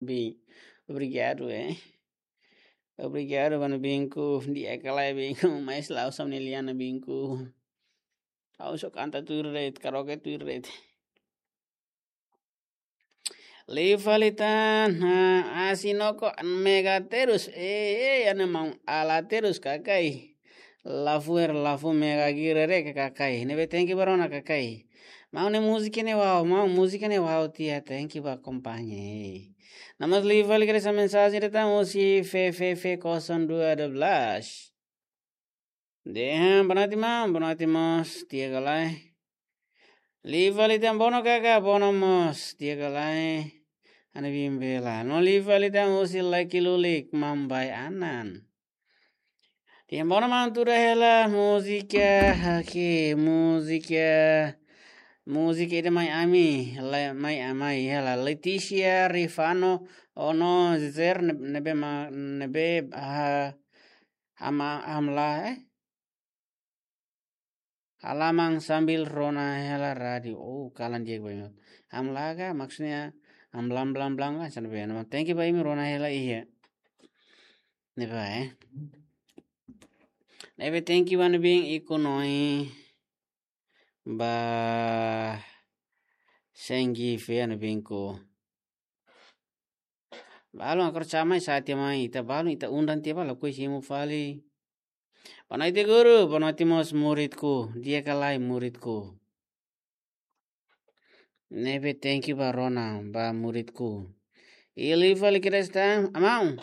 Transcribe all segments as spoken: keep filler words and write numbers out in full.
Bing. Obrigadu, eh. Obrigadu, mano Bingku. Di'ak ka lae, Bingku. Mas la usah meniliana, Bingku. Ha'u só kanta tuir de'it, karaoke tuir de'it. Liu fali tan, ha, asi noko mega terus. Eh, eh, ana mau ala terus kakai. Lafu er, lafu mega girere ke kakai. Ne'ebé thank you ba rona kakai. Maun ne'e múzika ne'e wow, maun múzika ne'e wow tiha, thank you ba akompaña. Namas liu fali ke esa mensajen datang husi F F F kosong dua dua belas. Dehan, boa noite, maun, boa noite, mós, di'ak ka lae. Liu fali tan bono kaka, bono mós, di'ak ka lae. Ana Bing bela. No liu fali tan husi Lucky Lulik, Mambai Anan. Dehan bono maun tuda hela múzika, oke, múzika. Múzika ida mai ami, la, mai amai hela. Leticia Rifano, Ono Zer, ne-, ne'ebé ma-, ne'ebé, ah, hama-, hamlaha, eh? Halaman sambil rona hela rádiu. Oh, kalan di'ak ba imi. Hamlaha ka, maksudnya, hamlam blam blam ka, sana be. Thank you ba imi rona hela iha. Ne'ebá, eh. Ne'ebé thank you ba Ana Bing Iku Noi. Ba Senggi fe Ana Bingku. Balun akor sama sa tiha mai, ita balun ita undang tiha ba lakohi simu fali. Boa noite guru, boa noite mós muridku, di'ak ka lae muridku. Ne'ebé thank you ba rona, ba muridku. Liu fali ke esa tan, amau.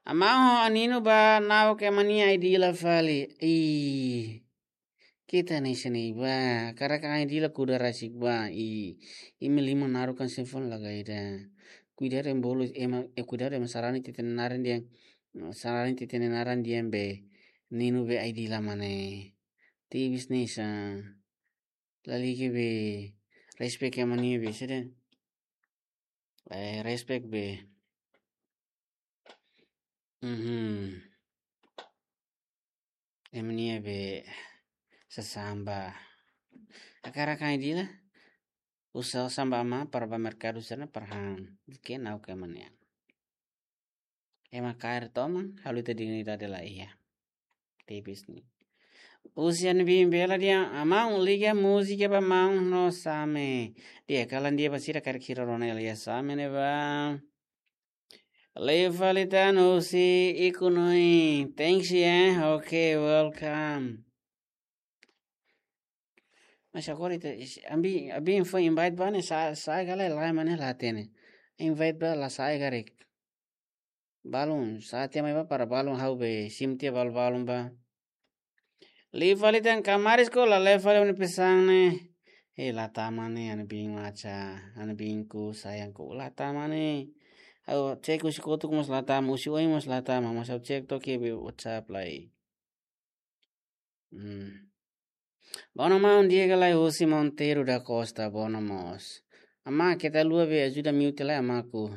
Amau ho Aninu ba nau ke mania ai dila fali. Ih. Kita ni sini ba, karik ai dila kuda rasik ba, i, imi lima naruk kan sefon lagai da. Kuidadu ema bolu, ema, eh, kuidadu ema sarani titene naran dehan, sarani titene naran dehan be, Ninu be ai dila mane. Tebes ne'e sa, lalika be, respect ema nia be, sede. Eh, respect be. Mhm. Ema nia be sasán ba. Hakarak ai dila. Uza sasán ba amá para ba merkadu sira-ne'e para han. Ke nau ke ema nia. Ema kaer toman, halo ita dignidade la iha. Tebes ne'e. Husi Ana Bing bela dehan, amau liga múzika ba maun no Same. Di'ak, kalan di'ak ba sira karik sira rona hela iha Same ne'ebá. Liu fali tan husi Iku Noi. Thanks, yeah. Okay, welcome. Mas agora ita, ami, ami foin invite ba ne'e sa, sa gala lai mane la hatene. Invite ba la sa karik. Balun, sa tiha mai ba para balun ha'u be, simu tiha balun-balun ba. Liu fali tan kamaris ko la liu fali uni pesan ne'e. Eh, la tama ne'e, Ana Bing Macha, Ana Bingku, sayangku, la tama ne'e. Ha'u cek husi kotuk mós la tama, husi oin mós la tama, mas ha'u cek to'o iha be WhatsApp lai. Hmm. Bono maun, di'ak ka lae, husi Monteiro da Costa, bono mós. Amá, keta haluha be ajuda mute lai amáku.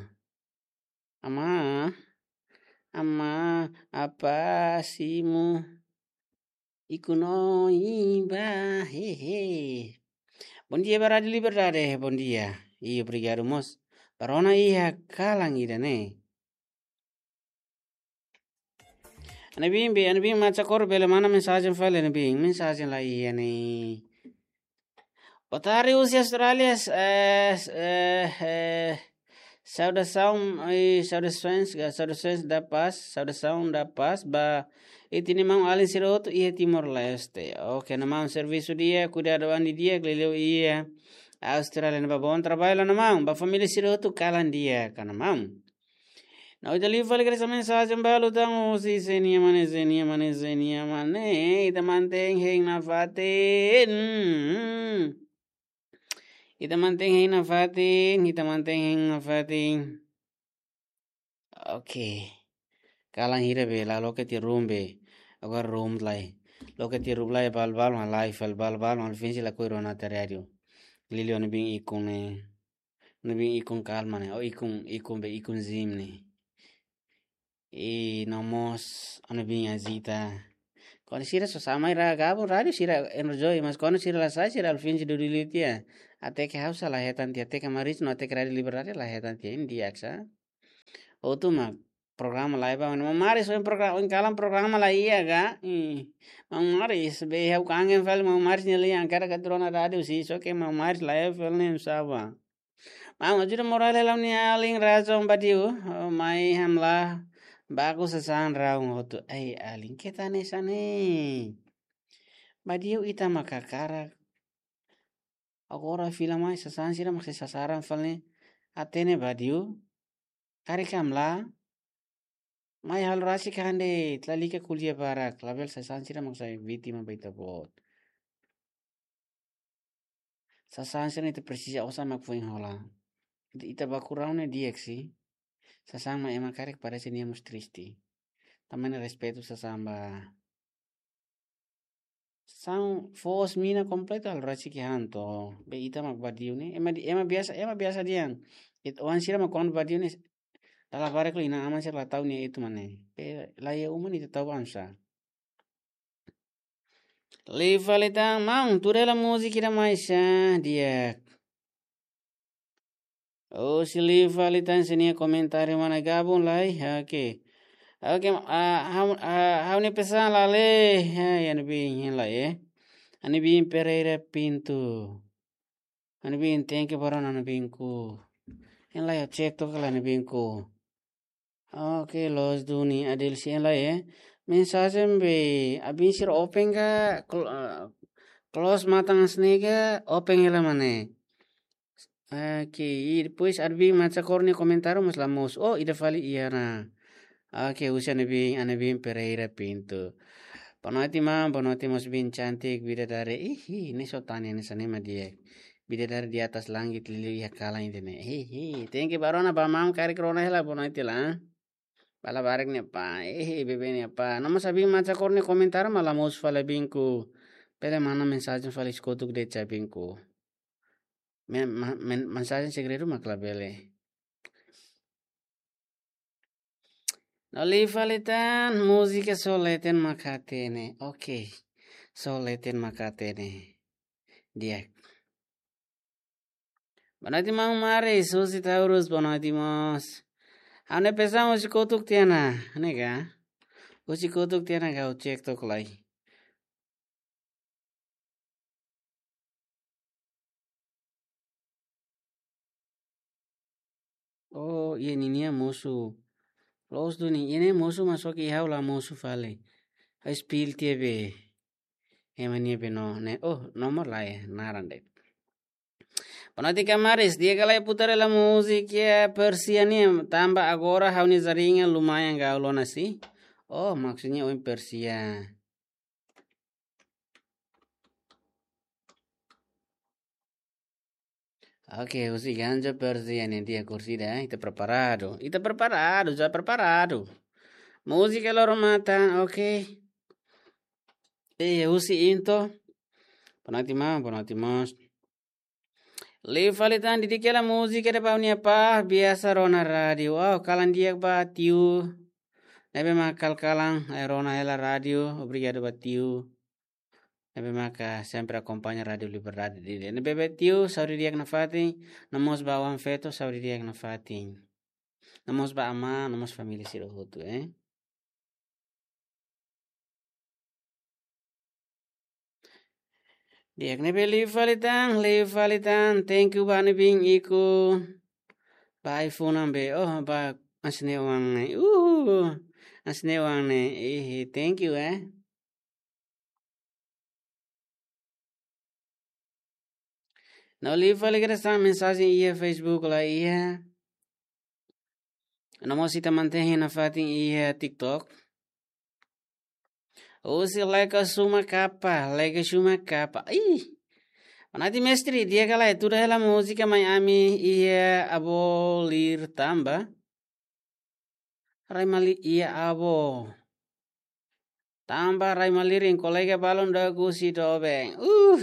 Amá, amá, apa simu? Iku Noi ba, hehe. Bondia ba Rádiu Liberdade, bondia. I obrigadu mós. Ba rona iha kalan ida-ne'e. Ana Bing be, Ana Bing Macha Cor bele manda mensajen fali Ana Bing, mensajen la iha ne'e. Boa tarde, husi Austrália, eh, eh, eh, saudasaun, eh, saudasaun, saudasaun da paz, saudasaun da paz ba ita-nia maun-alin sira hotu iha Timor-Leste. Oke, Ana Maun servisu di'ak, kuidadu an didi'ak, liuliu iha Austrália ne'ebá, bom trabalho, Ana Maun, ba família sira hotu kalan di'ak, Ana Maun. No ita liu fali ke esa mensajen balu tan husi Zenia Mane, Zenia Mane, Zenia Mane. Ita mantein hein nafatin. Ita mantein hein nafatin, ita mantein hein nafatin. Oke. Kalan hira be la loke tiha room be. Agora room lai. Loke tiha room lai balun-balun, live balun-balun, alfinsi lakohi rona tiha rádiu. Liuliu Ana Bing Ikun ne'e. Ana Bing Ikun Kalma ne'e, o Ikun, Ikun be Ikun Zim ne'e. I no mós Ana Bing Azita. Kuandu sira só sai mai ra gabung rádiu sira enjoy, mas kuandu sira la sai sira alfinsi dudu liu tiha. Até ke ha'u sa la hetan tiha, até ke Maris no até ke Rádiu Liberdade la hetan tiha, imi di'ak sa. Hotu mak programa la iha ba, maun Maris, ohin programa, ohin kalan programa la iha ka? Ih, maun Maris, be ha'u kangen fali maun Maris nia lian, hakarak atu rona rádiu sira, só ke maun Maris la iha fali ne'e sá ba. Maun, ajuda moral hela ha'u-nia alin Razon Badiu, oh, mai hamlaha baku sasán raun hotu. Ai, alin, keta hanesan ne'e. Badiu ita mak hakarak. Agora fila mai sasán sira mak sei sasaran fali ne'e. Hatene Badiu. Karik hamlaha. Mai halo rasik han de'it, lalika ko'alia barak, labele sasán sira mak sai vítima ba ita-boot. Sasán sira ita presiza osan mak foin hola. Ita, ita baku raun ne'e di'ak sih. Sasán mak ema karik parese nia mós triste. Tanba ne'e respeitu sasán ba. Sasán foos mina kompletu halo rasik han to. Be ita mak Badiu ne'e. Ema di, ema biasa, ema biasa dehan. Ita oan sira mak kuandu Badiu ne'e. Dala barak liu inan-aman sira la tau nia etu mak ne'e. Be la iha uma ne'e ita tau ba oinsá. Liu fali tan maun, tuur hela múzika ida mai sá, di'ak. Oh, se liu fali tan sira-nia komentáriu mana gabung lai. Oke. Oke, ah, ha'u, ah, ha'u-nia pesan la lee. Ha, iha ne'ebé hein lai, eh. Ani bin Pereira Pinto. Ani bin, thank you ba rona, ani bin ku. Hein lai, ha'u cek tok lai, ani bin ku. Oke, loos duni, adil sih, hein lai, eh. Mensajen be, abin sira open ka, cl-, ah, close matan hanesan ne'e ka, open hela mak ne'e. Oke, i depois Arbi Macha Korni komentáriu mas la mosu. Oh, ida fali iha ona. Oke, husi Anabin, Anabin Pereira Pinto. Boa noite, maun. Boa noite, mós bin cantik, bidadari. Ihi, ne'e só tanya ne'e hanesan ne'e mak di'ak. Bidadari di atas langit, liuliu iha kalan ida-ne'e. Ihi, thank you ba rona, ba maun karik rona hela, boa noite lah. Ba labarik nia apá, ihi, bebé nia apá. No mós Abin Macha Korni komentáriu mas la mosu fali, abin ku. Bele manda mensajen fali, husu kotuk de'it, abin ku. Men-, ma-, men-, mensajen segredu mak labele. No liu fali tan, múzika Só Leten Mak Hatene. Oke. Só Leten Mak Hatene. Di'ak. Boa noite, maun Maris. Husi Taurus, boa noite, mós. Ha'u-nia pesan husi kotuk tiha ona, ne'e ka? Husi kotuk tiha ona ka, ha'u cek tok lai. Oh, iha ninia mosu. Loos duni, iha ne'e mosu, mas só ke ha'u la mosu fali. Ha'u spill tiha be. Ema nia be no, ne'e. Oh, nomor lae, naran de'it. Boa noite, Kamaris. Di'ak ka lae putar hela múzika Persia nian, tanba agora ha'u-nia jaringan lumayan gau ona sih. Oh, maksudnya oin Persia. Oke, husi Ganja Persia nian, di'ak, kursi ida, eh. Ita preparadu. Ita preparadu, já preparadu. Múzika loro matan, oke. Eh, husi Into. Boa noite, maun, boa noite, mós. Liu fali tan, didik hela múzika ida ba ha'u-nia apá, biasa rona rádiu. Oh, kalan di'ak ba tiu. Ne'ebé mak kalan-kalan, eh, rona hela rádiu, obrigadu ba tiu. Ne'ebé maka sempre akompaña Rádiu Liberdade. Di, di, ne'ebé tiu, saúde di'ak nafatin, no mós ba oan feto, saúde di'ak nafatin. No mós ba amá, no mós família sira hotu, eh. Di'ak, ne'ebé liu fali tan, liu fali tan, thank you ba ne'ebé iku. Ba iPhone ne'ebé, oh, ba hanesan ne'e oan ne'e. Uh, hanesan ne'e oan ne'e. Ih, thank you, eh. No liu fali kedas tan, mensajen iha Facebook la iha. No mós ita mantein nafatin iha TikTok. Husi Leka Suma Kapa, Leka Suma Kapa. Ih. Boa noite, mestre, di'ak ka lae, tuur hela múzika mai ami iha Abo Lir Tamba. Rai mali-, iha Abo. Tamba rai malirin, kolega balun dook husi doben. Uh,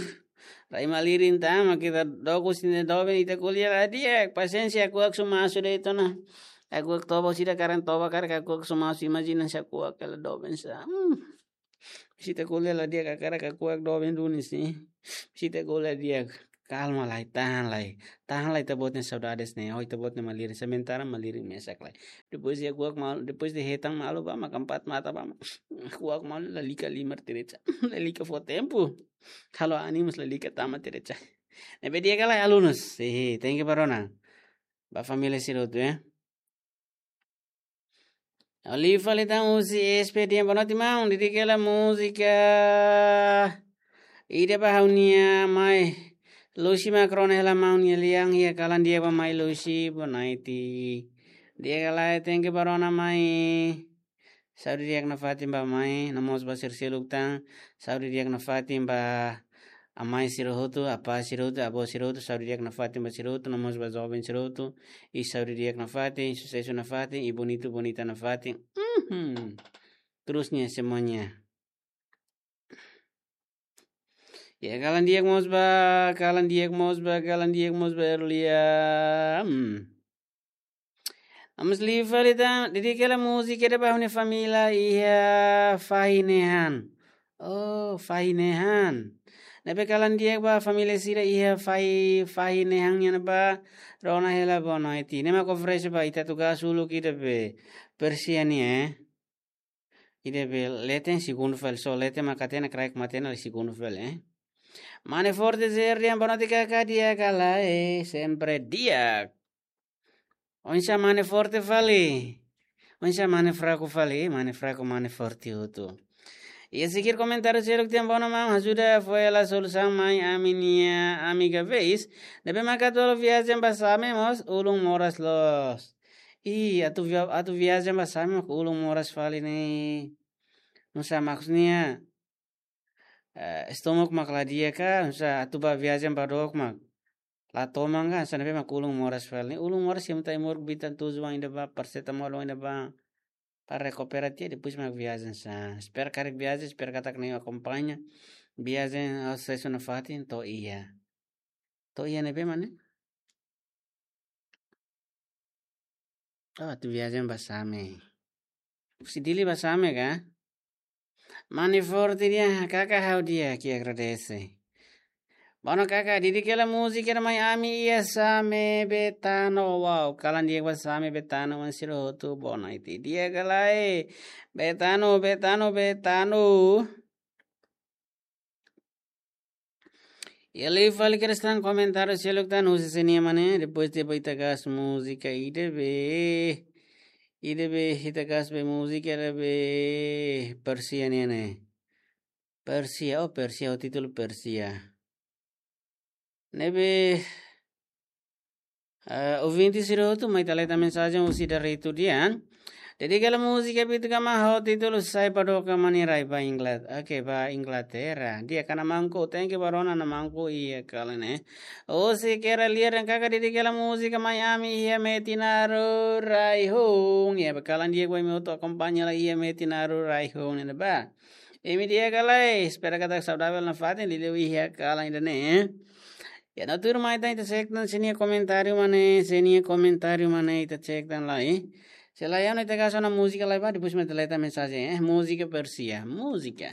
rai malirin tama, ita dook husi doben, ita ko'alia la di'ak, pasiénsia, kuak suma asu de'it ona. Kuak toba sira karik toba karik, kuak suma asu, imajina se kuak hela doben sá. Hmm. Se ita ko'alia la di'ak, hakarak kuak doben duni sih. Se ita ko'alia di'ak. Kalma lai, tahan lai. Tahan lai ita-boot nia saudades ne'e. Ho ita-boot nia malirin, sementara malirin mesak lai. Depois de kuak malu, depois de hetan malu ba mak, empat mata ba mak, kuak malu, lalika liman derecha. Lalika fó tempu. Halo animus, lalika tama derecha. Ne'ebé di'ak ka lae, alunus? Hehe, thank you ba rona. Ba família sira hotu, eh. Liu fali tan husi S P D M, boa noite maun, dedika hela múzika ida ba ha'u-nia mai Lucy mak rona hela maun nia lian, iha kalan di'ak ba mai Lucy, boa noite. Di'ak ka lae, thank you ba rona mai. Saúde di'ak nafatin ba mai, no mós ba sira seluk tan. Saúde di'ak nafatin ba amai sira hotu, apá sira hotu, avó sira hotu, saúde di'ak nafatin ba sira hotu, no mós ba joven sira hotu. I saúde di'ak nafatin, susesu nafatin, i bonitu bonita nafatin. Mhm. Terusnya semuanya. Ya, kalan di'ak mós ba, kalan di'ak mós ba, kalan di'ak mós ba Erlia. Hmm. Amas liu fali tan, dedika hela múzika ida ba ha'u-nia família iha Fahi Nehan. Oh, Fahi Nehan. Ne'ebé kalan di'ak ba família sira iha Fahi, Fahi Nehan nian ba, rona hela boa noite. Ne'e mak oferese ba ita atu gás uluk ida be, Persia nian, eh. Ida be leten segundu fali, só leten mak hatene, kraik mak hatene, segundu fali, eh. Mane Forte Zerdian, boa noite kaka, di'ak ka lae, eh, sempre di'ak. Oinsá mane Forte fali? Oinsá mane fraku fali? Mane fraku, mane forte hotu. Iha seguir komentáriu seluk tiha, boa noite maun, ajuda fó hela solusaun mai ami-nia amiga Veis. Ne'ebé mak atu halo viajen ba Same mós ulun moras loos. Ih, atu via-, atu viajen ba Same mak ulun moras fali ne'e. Nusá maksudnya, eh, estómagu mak la di'ak ka, nusá atu ba viajen ba dook mak la toman ka, hanesan ne'ebé mak ulun moras fali ne'e. Ulun moras, simu Timor, bitan tuju wan ida ba, paracetamol wan ida ba, para rekupera tiha, depois mak viajen sa. Espera karik viajen, espera katak ne'e akompaña viajen, ah, susesu nafatin, to'o iha. To'o iha ne'ebé mak ne'e? Oh, atu viajen ba Same. Husi Dili ba Same ka? Mane Forte di'ak, kaka, ha'u di'ak, ke agradese. Boa noite kaka, dedika hela múzika ida mai ami iha Same Betano. Wow, kalan di'ak ba Same Betano, maun sira hotu, boa noite. Di'ak ka lae, Betano, Betano, Betano. Iha liu fali kedas tan komentáriu seluk tan, husi sé nian mak ne'e, depois de ba ita gás múzika ida be, ida be, ita gás be múzika ida be, Persia nian ne'e. Persia, oh, Persia, oh, títulu Persia. Ne'ebé, eh, ouvinte sira hotu, mai ita leta mensajen husi Daretu Dian. Dedika hela múzika Bitu Gama ho títulu Sai Padoka Mani Rai ba Ingla-, oke, ba Inglaterra. Di'ak ka Namangku, thank you ba rona Namangku, iha kalan ne'e. Husi Kera Liar dan kaka, dedika hela múzika mai ami iha Metinaru Raihun. Ya, ba kalan di'ak ba imi hotu akompaña lai iha Metinaru Raihun ne'ebá. Imi di'ak ka lae, espera katak saudavel nafatin, liuliu iha kalan ida-ne'e. Ya, no tuirmai tan ita cek tan sé nia komentáriu mak ne'e, sé nia komentáriu mak ne'e, ita cek tan lai. Se lae, anu, ita gás ona múzika lai ba, depois mai ita leta mensajen, eh, múzika Persia, múzika.